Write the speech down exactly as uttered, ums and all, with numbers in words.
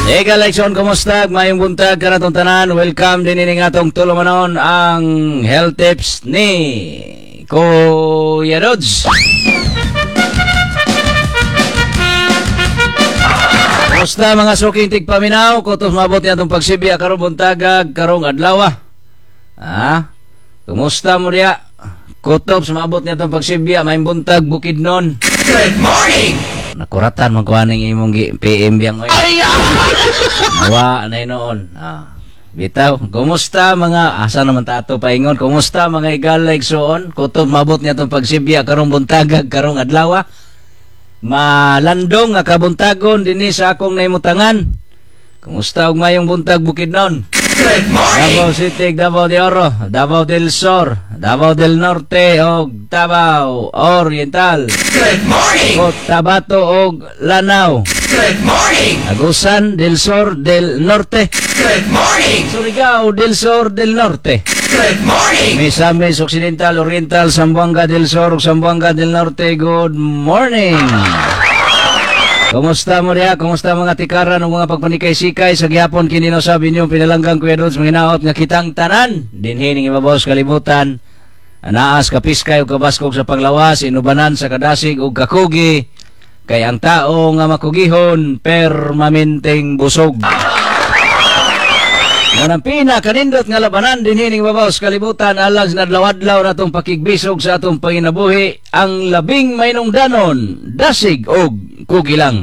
Eka Lekson, kumusta? Mayong buntag kanatong tanan. Welcome din ini atong tulumanon, ang health tips ni Kuya Dodds. Kumusta mga suking tigpaminaw? Kutos mabot ni atong pagsibya karong buntagag, karong adlaw. Ha? Kumusta mo diya? Kutob sa maabot ni atong pagsibya, mayong buntag Bukidnon. Good morning! Nakuratan man ko aning imong gi- P M biyang oy. Nawa na noon. Ah. Bitaw, kumusta mga asa naman tato paingon? Kumusta mga igala, igsuon? Kutob mabot niya atong pagsibya karong buntagag, karong adlaw. Malandong nga kabuntagon dinhi sa akong nahimutangan. Kumusta og mayong buntag, Bukidnon? Good morning! Davao City, Davao de Oro, Davao del Sur, Davao del Norte og Davao Oriental. Good morning! Cotabato og Lanao. Good morning! Agusan del Sur del Norte. Good morning! Surigao del Sur del Norte. Good morning! Misamis Occidental, Oriental, Zamboanga del Sur ug Zamboanga del Norte. Good morning. Kumusta mo diha? Kumusta mga tikaran ug mga pagpanikay-sikay sa gihapon kini no sabi niyo pinalanggang Kuya Dodds, manginaot nga kitang tanan dinhi ning ibabaw sa kalibutan. Anaas kapiskay ug kabaskog sa panglawas, inubanan sa kadasig ug kakugi, kay ang tao nga makugihon permanenteng busog. Nganang pinakanindot nga labanan dinhi ning ibabaw sa kalibutan alang sa adlaw-adlaw natong pakigbisog sa atong panginabuhi, ang labing mainungdanon, dasig og kugi lang.